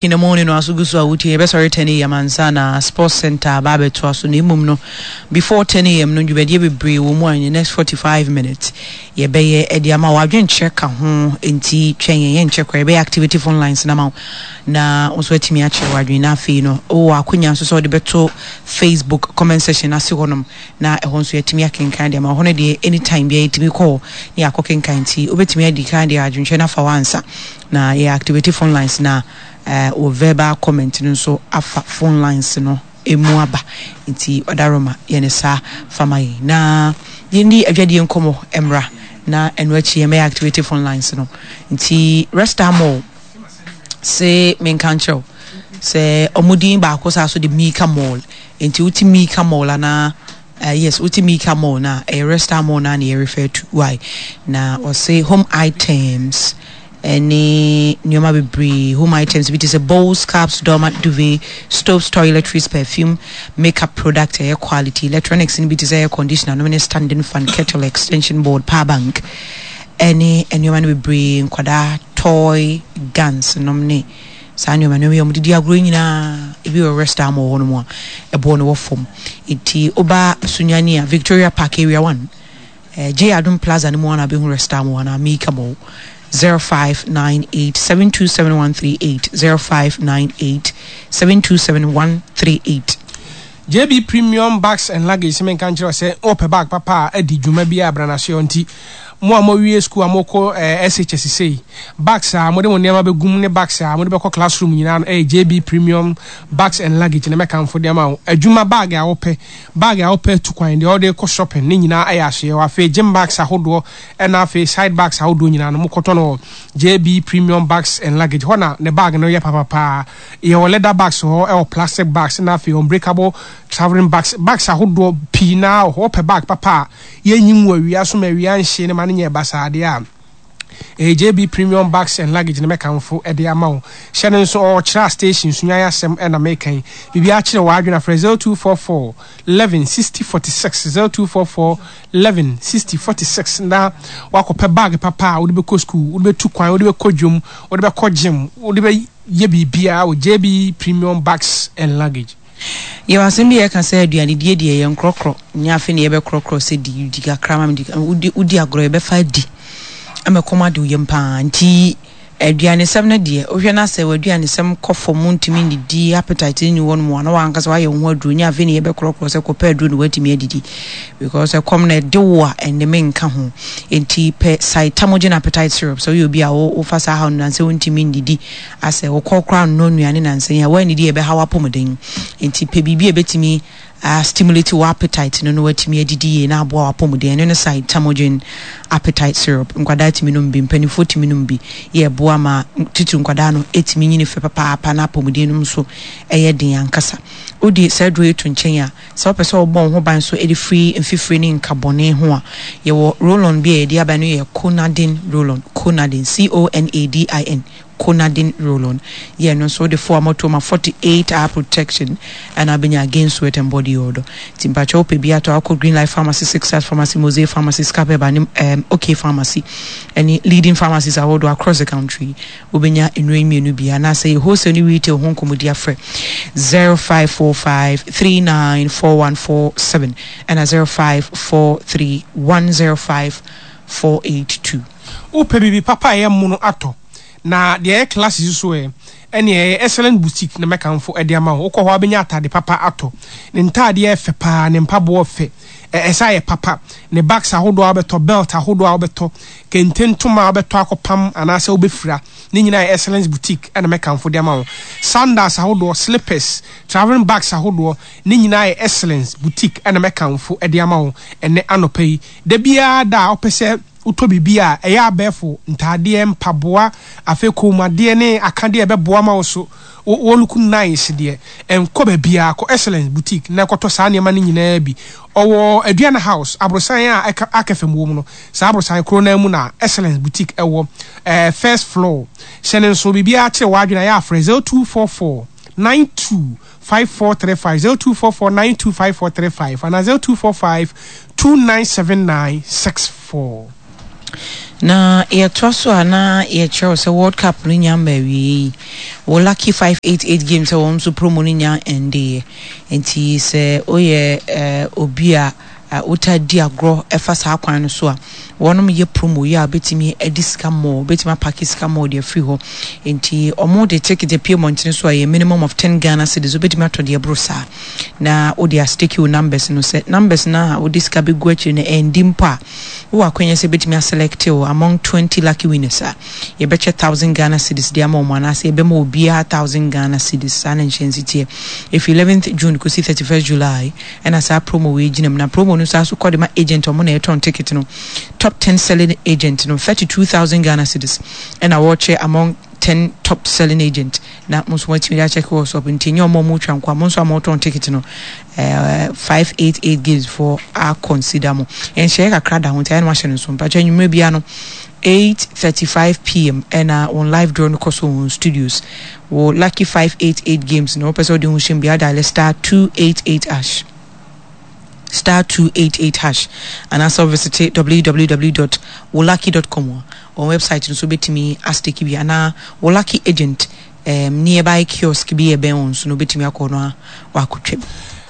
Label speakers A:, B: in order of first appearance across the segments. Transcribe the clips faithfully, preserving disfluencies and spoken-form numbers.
A: In the morning no aso gu so a wotie. Yɛbɛsɔre ten a m ansa na Sports Center aba abɛtoa so. Na mmom no, before ten a m no, dwumadie bebree wɔ mu a in the next forty-five minutes yɛbɛyɛ ɛde ama wo. Adwenkyerɛ ka ho, nti twɛn yɛn, yɛnkyɛ koraa yɛbɛyɛ activity phone lines na ma wo na wo nso atumi akyerɛ w'adwene. Na afei no, wowɔ akonya nso sɛ wode bɛto Facebook comment section ase hɔnom na ɛhɔ nso yɛatumi akenkan deɛ ma hɔ no deɛ, anytime biara yɛtumi kɔ ne yɛakɔ kenkan. Nti wobɛtumi adi kan deɛ adwenkyerɛ no afa wɔ ansa na yɛ activate phone lines na uh, wɔ verbal comment no nso afa phone lines no emu aba. Nti ɔdaroma yɛne saa fama yi na yɛndi adwadeɛ nkɔmmɔ mmra na ɛno akyi yɛmɛyɛ activate phone lines no. Nti Resta Mall se menka nkyerɛw sɛ ɔmo din baako saa so de Mika Mall. Nti wote Mika Mall anaa uh, yes, wote Mika Mall na ɛyɛ Resta Mall na na yɛ refer to. Why na ɔse home items ɛne nneɛma bebree. Home items bi te sɛ bowls, cups, doormat, duvet, stoves, toiletries, perfume, makeup product, ɛyɛ quality. Electronics no bi te sɛ air conditioner nom ne standing fan, kettle, extension board, power bank ɛne nneɛma no bebree, nkwadaa toy guns nom ne saa nneɛma nneɛma yi a wɔde di agorɔ nyinaa ebi wɔ Resta Mall hɔ nom a ɛboɔ no wɔ fam. Nti woba Sunyani a, Victoria Park Area one, eh, J Adum Plaza no mu ana bɛhu Resta Mall anaa Mika Mall. zero five nine eight seven two seven one three eight, zero five nine eight seven two seven one three eight.
B: J B Premium Bags and Luggage sɛ menka nkyerɛ sɛ wopɛ bag papa a adi dwuma bi a branasoɔ. Nti mo a moawie school a mokɔ eh, S H S sei, bags a mode mo nneɛma bɛgum ne bags a mode bɛkɔ classroom nyinaa no, ɛyɛ J B Premium Bags and Luggage na mɛkamfo de ama wo. Adwuma bag a wopɛ, bag a wopɛ tu kwan, deɛ wode kɔ shopping ne nyinaa ɛyɛ ahyeɛ hɔ. Afei gym bags ahodoɔ ɛna afei side bags ahodoɔ nyinaa no, mokɔtɔ no wɔ J B Premium Bags and Luggage hɔ na ne bag no yɛ papapaa. Yɛwɔ leather bags hɔ, ɛwɔ plastic bags na afei unbreakable travelling bags, bags ahodoɔ pii naa wɔ hɔ. Wopɛ bag papa a yɛnyi ngu awia so ma awia nhye ne ma no nyɛ basaa deɛ a, ɛyɛ J B Premium Bags and Luggage ne mɛkamfo ɛde ama wo. Hyɛ no nso, ɔkyerɛ station Sunyan asɛm ɛna mekan biribi akyerɛ wɔ adwene afrɛ zero two four four eleven sixty forty-six, zero two four four eleven sixty forty-six na wakɔpɛ bag papa a wode bɛkɔ school, wode bɛtu kwan, wode bɛkɔ dwom, wode bɛkɔ gym, wode bɛyɛ biribiara wɔ J B Premium Bags and Luggage.
A: Yɛwɔ asɛm bi a yɛka sɛ aduanedie deɛ, yɛ nkorɔkorɔ nyɛ afei ne yɛbɛkorɔkorɔ sɛ di di kakra ma me di. Wodi wodi agorɔ, yɛbɛfa adi ama kɔm ade wo yam paa. Nti aduanesɛm no deɛ, wohwɛ no sɛ w'aduanesɛm kɔ fam, ntumi ndidi, appetite ne wɔ no mu a, na wankasa wayɛ wo ho aduro. Nyɛ afei ne yɛbɛkorɔkorɔ sɛ kɔpɛ aduro na woatumi adidi, because ɛkɔm no ɛde wo a ɛnde menka ho. Nti pɛ Saitamogen Appetite Syrup. Sɛ woyɛ obi a wo- wofa saa haw no nansɛ wontumi ndidi, asɛ wokɔ koraa nnɔ nnuane nansɛ yi a woannidi a, ɛbɛha w'apɔmuden. Nti pɛ biribi a ɛbɛtumi uh, stimulate wo appetite no na watumi adidi yie na aboa w'apɔmuden. Ɛno ne Saitamogen Appetite Syrup. Nkwadaa tumi nom bi, mpanimfoɔ tumi nom bi. Yɛ ɛboa ma titiri nkwadaa no ɛtumi nyini fɛ papaapa na apɔmuden no nso ɛyɛ den ankasa. Wode saa aduro yi to nkyɛn a, sɛ wopɛ sɛ wobɔ wo ho ban so ɛde firi mfifire ne nkabɔne ho a, yɛwɔ roll-on bi a yɛde aba no, yɛ Conadin roll-on. Conadin, C O N A D I N, Conadin roll-on. Yɛ no nso wode fo a moto ma forty-eight hour protection ɛna abɛnya against sweat and body odor. Nti mpakyɛ, wopɛ bi atɔ, akɔ Green Life Pharmacy, Six Stars Pharmacy, Mosaic Pharmacy, Scapeba ne um, OK Pharmacy ɛne leading pharmacies ahodoɔ across the country, wobɛnya nnuro yi mmienu bi. Anaasɛ yɛ wholesale ne retail ho nkɔmmɔdi, afrɛ zero five four five three nine four one four seven ɛna zero five four three one zero five four eight two.
B: Wopɛ biribi papa a ɛyɛ mono atɔ na deɛ ɛyɛ class so ɛ, ɛne ɛyɛ Excellent Boutique na mɛkamfo ɛde ama wo. Wokɔ hɔ a, wobɛnya atade papa atɔ. Ne ntaadeɛ ɛfɛ paa, ne mpaboɔ fɛ, ɛsɛ ayɛ papa, ne bags ahodoɔ a wobɛtɔ, belt ahodoɔ a wobɛtɔ, kente ntoma a wobɛtɔ akɔpam anaasɛ wobɛfira ne nyinaa yɛ Excellence Boutique ɛna mɛkamfo de ama wo. Sandals ahodoɔ, slippers, travelling bags ahodoɔ ne nyinaa yɛ Excellence Boutique ɛna mɛkamfo de ama wo ɛnɛ anɔpa yi. Da biara da a wopɛ sɛ wotɔ biribi a ɛyɛ abɛɛfo ntaadeɛ, mpaboa, afei kɔnmuadeɛ ne akadeɛ a ɛbɛboa ma wo so wo look nice deɛ, ɛnkɔ baabiara, kɔ Excellence Boutique na ɛkɔtɔ saa nneɛma no nyinaa bi. Ɔwɔ Aduana House aborosan a ɛka aka fam wɔ mu no, saa aborosan koro no mu na Excellence Boutique ɛwɔ, ɛɛ first floor. Hyɛ ne nso, biribiara kyerɛ w'adwene a, yɛ afrɛ zero two four four nine two five four three five, zero two four four nine two five four three five, ana zero two four five two nine seven nine six four.
A: Na yɛtoa so a na yɛkyerɛ wo sɛ World Cup no nya mma awiei yi, wo Lucky five eight eight games a wɔn nso promo no nya ɛndeeɛ. Nti sɛ woyɛ eh, obi a eh, wotaa di agorɔ ɛfa saa kwan no so a, wɔnom yɛ promo yi a wobɛtumi adi sika mmɔɔ, wobɛtumi apake sika mmɔɔ de afiri hɔ. Nti wɔn de ticket apue mmɔntene so a ɛyɛ minimum of ten Ghana cedis, wobɛtumi atɔ deɛ ɛboro saa na wode astake wo numbers no. Sɛ numbers no a wode sika bɛgu akyire no ɛndi mpo a, wowɔ akwanya sɛ yɛbɛtumi aselɛkte wo among twenty lucky winners a, yɛbɛkyɛ thousand Ghana cedis de ama wɔn anaasɛ yɛbɛma obiara thousand Ghana cedis. Saa na nhyɛnse teɛ. Ɛfiri eleventh June kɔsi thirty first July ɛna saa promo wei gyina mu. Na promo no saa so kɔ de ma agent a wɔn na ɛtɔn ticket no. Top ten selling agent no thirty two thousand Ghana cedis ɛna wɔrekyɛ among ten top selling agent na mo nso moatumi de akyɛke wɔ shop nti ɛnyɛ ɔmo a ɔmo twa nko a mo nso a motɔn ticket no eh, five eight eight games foɔ a consider mo nhyɛeɛ kakra da ho nti ayɛ no wahyɛ no nso mpakyɛ anwummerɛ biara no eight thirty five pm ɛna wɔn live draw no kɔ so wɔ wɔn studios wɔ lucky five eight eight games no wopɛ sɛ wode ho hyɛm biara dial star two eight eight hash star two eight eight hash anaasɛ wo www dot wolucky dot com a wɔn website no so wobɛtumi astake bi anaa wo lucky agent um, nearby kiosk bi ɛbɛn wɔn so no wobɛtumi akɔ no a wakɔtwa bi.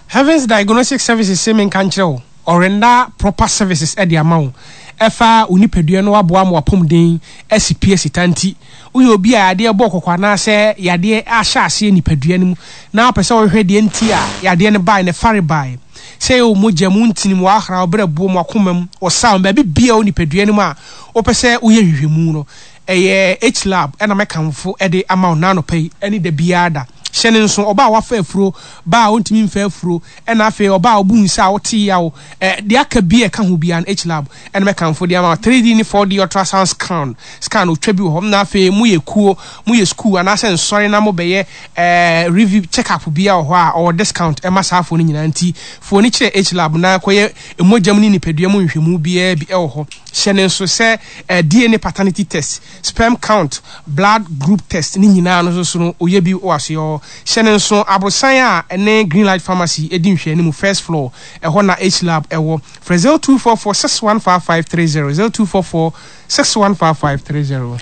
B: Heavens Diagnostic Services se menka nkyerɛ wo, ɔrenda proper services de ama wo ɛfa wo nipadua no aboa ma w'apɔmuden asi pi asi ta nti woyɛ obi a yadeɛ bɔ wo kɔkɔ anaasɛ yadeɛ ahyɛ aseɛ nipadua no mu na wopɛ sɛ wohwehwɛ deɛ nti a yadeɛ no bae ne farebae sɛ ɛyɛ wo mogya mu, wo ntini mu, w'ahrawa, wo berɛboɔ mu, w'akoma mu, wo saw mu, baabi biara wɔ nipadua no mu a wopɛ sɛ woyɛ nhwehwɛmu no, ɛyɛ H-Lab na mɛkamfo de ama wo nnɛ anɔpa yi ne da biara da. Hyɛ no nso, ɔbaa a wafa afuro, baa a ɔntumi mfa afuro, ɛna afei ɔbaa a ɔbu nsa a wote yaw, ɛ, deɛ aka bi a ɛka ho biara no, H-Lab na mɛkamfo de ama wo. Three D ne four D ultrasound scan, scan, otwa bi wɔ hɔ. Na afei moyɛ kuo, moyɛ sukuu anaasɛ nsɔre na mobɛyɛ ɛɛ review, check up biara wɔ hɔ a, ɔwɔ discount ɛma saa afoɔ no nyinaa. Nti fa w'ani kyerɛ H-Lab na kɔyɛ mogya mu ne nipadua mu nhwehwɛmu biara bi wɔ hɔ. Hyɛ no nso sɛ ɛɛ D N A paternity test, sperm count, blood group test ne nyinaa no nso so no ɔyɛ bi wɔ asoɛeɛ hɔ. Hyɛ no nso aborosan a ɛne Green Light Pharmacy di nhwɛanimu, first floor, ɛhɔ na H-Lab wɔ. Frɛ zero two four four six one five five three zero, zero two four four six one five five three zero.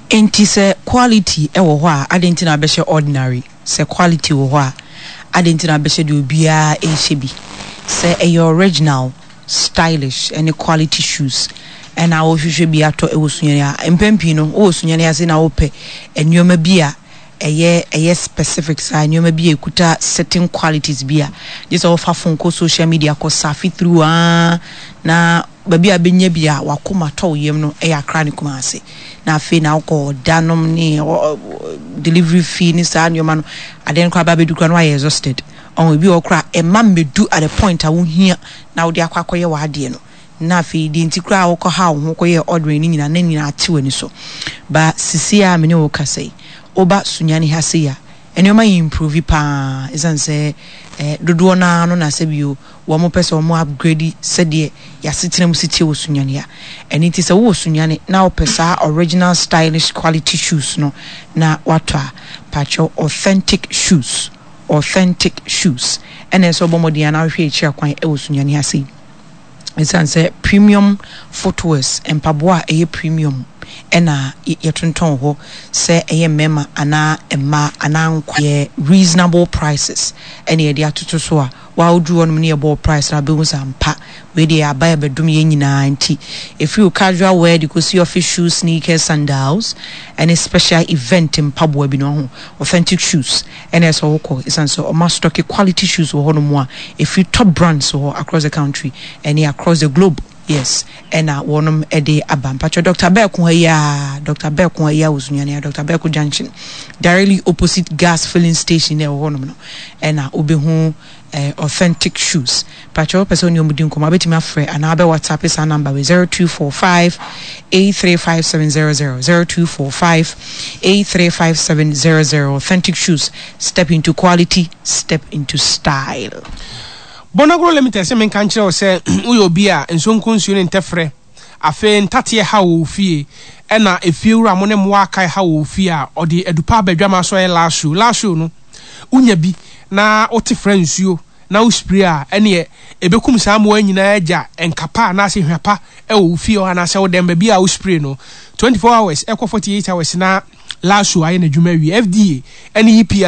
A: Enti sɛ quality wɔ hɔ a adɛn nti na wabɛhyɛ ordinary? Sɛ quality wɔ hɔ a adɛn nti na wabɛhyɛ deɛ obiara rehyɛ bi? Sɛ ɛyɛ original, stylish ne quality shoes na wohwehwɛ bi atɔ wɔ Sunyani a, mpɛn pii no wowɔ Sunyani ase na wopɛ nneɛma bi a ɛyɛ ɛyɛ specific saa, nneɛma bi a ɛkuta certain qualities bi a, gye sɛ wofa phone kɔ social media kɔ surf through aa na baabi a wobɛnya bi a w'akoma tɔ wo yam no yɛ Accra ne Kumasi. Na afei na wokɔ ɔda nom ne delivery fee ne saa nneɛma no, adeɛ no koraa ba bɛdu koraa na woayɛ exhausted. Ɔho ebi wɔ hɔ koraa a ɛmma mmɛdu at the point a wohia na wode akɔ akɔyɛ w'adeɛ no. Na afei deɛ nti koraa a wokɔhaa wo ho kɔyɛɛ ordering no nyinaa na ne nyinaa ate w'ani so. Ba sisi a me ne wo rekasa yi, woba Sunyani ha sei a, nneɛma improve paa ɛsiane sɛ eh, dodoɔ no ara no na sɛbio wɔn pɛ sɛ wɔn upgrade sɛdeɛ y'asetena mu si teɛ wɔ Sunyani ha. Ɛno nti sɛ wowɔ Sunyani na wopɛ saa original stylish quality shoes no na woatɔ a, pakyɛw authentic shoes, authentic shoes ɛna ɛsɛ sɛ wobɔ mmɔden ara na wohwehwɛ akyiri akwan wɔ Sunyani ha sei. Esiane sɛ premium footwears, mpaboa a ɛyɛ premium na yɛtontɔn wɔ hɔ, sɛ ɛyɛ mmarima anaa mmaa anaa nkwa, yɛ reasonable prices na yɛde atoto so a, wo a woduru hɔnom ne yɛbɔ wo price no a, wobɛhu sɛ ampa wei deɛ aba ɛbɛdom yɛn nyinaa nti, ɛfiri wo casual wear de kɔsi office shoes, sneakers, sandals ne special event mpaboa bi no, wahu, authentic shoes na ɛsɛ sɛ wokɔ ɛsiane sɛ wɔastɔke quality shoes wɔ hɔnom a ɛfiri top brands wɔ across the country ɛne across the globe yes ɛna wɔnom ɛde aba mpakyɛ Doctor Bɛɛko ha yi aa Doctor Bɛɛko ha yi aa wɔ Sunyani ha Doctor Bɛɛko junction directly opposite gas filling station na ɛwɔ hɔnom no ɛna wobɛhu eh, authentic shoes mpakyɛ wopɛ sɛ wo ne wɔn di nkɔmmɔ wobɛtumi afrɛ anaa wobɛ whatsapp saa number wei zero two four five eight three five seven zero zero zero two four five eight three five seven zero zero authentic shoes step into quality step into style.
B: Bonagro Limited se menka nkyerɛ wo sɛ woyɛ obi a nsonko nsuo ne ntɛfrɛ, afei ntateɛ haw wɔ wo fie, ɛna efiewura mo ne mmoa akae haw wɔ wo fie a, ɔde adupa aba adwamaa so ɛyɛ last show. Last show no, wonya bi na wote fra nsuo Na wo spray a, ɛneɛ ɛbɛkum saa mmoa nyinaa, agya nkapa anaasɛ hwapa ɛwɔ wo fie hɔ anaasɛ wo dɛm baabi a wo spray no. twenty-four hours ɛkɔ forty-eight hours na Lasso ayɛ n'adwuma awie. F D A ɛne E P A.